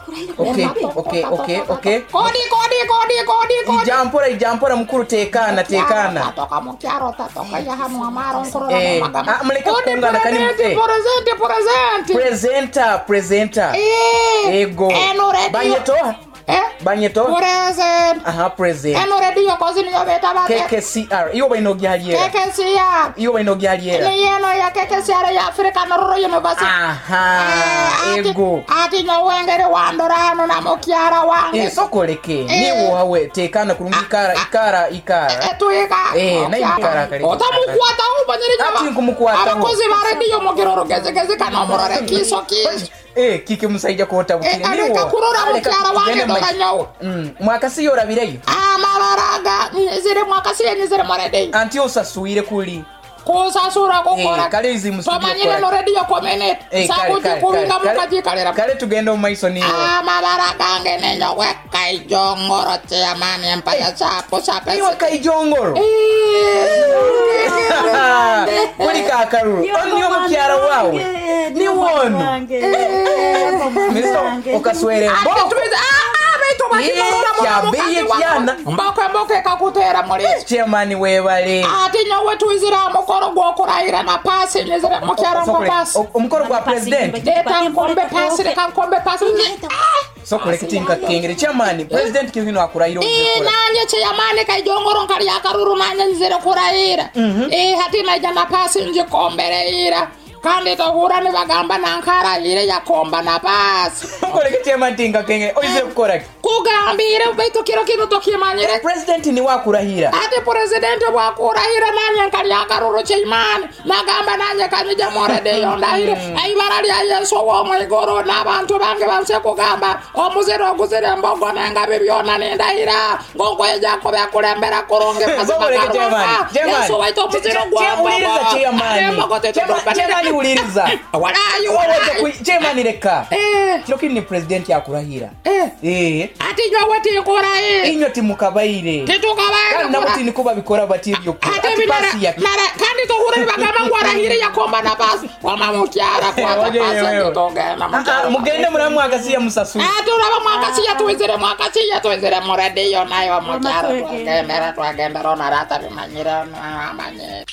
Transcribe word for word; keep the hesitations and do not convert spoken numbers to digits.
Okay, okay, okay, okay. Kodi kodi kodi kodi kodi. Ijampora ijampora mukuru tekana tekana. Tatoka mukyaro tatoka ya hanu amaro nkorora Eh, magamba. ah, muleke Kodi kukungana kani present eh. present present. Presenter, presenter. Eh. Ego. Eno radio. Banyeto? Eh? Banyeto? Present. Aha, present. Eno radio kozi niyo beta bate. K K C R. Iyo baino gyaliera. K K C R. Iyo baino gyaliera. Ni yeno ya K K C R ya Africa Rural University. Aha, Eh, ati- ego. Ati nyowengere wandora hano na mukyara wange. Eh, sokoleke. Eh. Niwo hawe tekana kurungi ikara ikara ikara. Eh, tuiga. Eh, naye ikara kare. Otamukwata ubanyiri Ati nkumukwataho. Abakozi ba radio mugiro rugezegeze kana omurore kiso kiso. Eh, kike musaija kota Eh, bukire areka kurora mukyara wange dora nyowe. Mm, mwakasi yorabireyo. Amabaraga nizire mwakasi nizire mu radio. Anti osasuire kuli. Kusasura kukora. Eh, kale izi mu studio Tomanyire kora. no radio community. Eh, kale, Sakuti kale, kubinga kale, mukajikalira. Kale tugenda mu maiso niwo. Amabara gange nenyowe kaijongoro chairman empaya sapo sape. Niwo kaijongoro. Kuli kakaruru. Oni omukyara wawe. Ni wono. Miso okaswere mbo. Mboke mboke kakutera muri. Chairman webale. Ati nyowe tuizira mukoro gwokurahira na pasi nizira mukyara ngo pasi. Omukoro gwa president. Leta nkombe pasi reka nkombe pasi. Sokoleke tinka kengere chairman president kihino akurahira Eh nanye chairman kaijongoro nkali akaruru nanye nzire kurahira. Eh hati naija na pasi njikombereira. Kandi tohura nibagamba nankarahire yakomba na pasi. Sokoleke chairman tinka kengere oizire kukora ki? Kugambire baitu kiro kino tokimanyire. President ni wakurahira. Ati president wakurahira nanye nkali akaruru chairman. Nagamba nanye kanyija moredeyo ndahire. Aibara lya Yesu wo mwigoro n'abantu bange banse kugamba omuziro oguzire embogo nengabi byona nindahira ngokweja kubekulembera kurungi Sokoleke chairman. Chairman. Yesu waitu omuziro gwa Uliriza chairman. Chairman uliriza. Walayi walayi. Chairman reka. Eh. Kiro kini ni president yakurahira. Eh. Eh. Ati nyowe tinkurahira. Inyo timukabaire. Titukabaire. Kandi nabo tiniko babikora bati ibyo. Ati pasi ya. Kandi tohura nibagamba ngo arahire yakomba na pasi. Wama mukyara kwata pasi tutogenda mukyara. Mugende muri mwakasiya musasura. Ah turaba mwakasiya tuwizire mwakasiya tuwizire mu radio nayo mukyara twagendera twagendera onarata bimanyira amanye.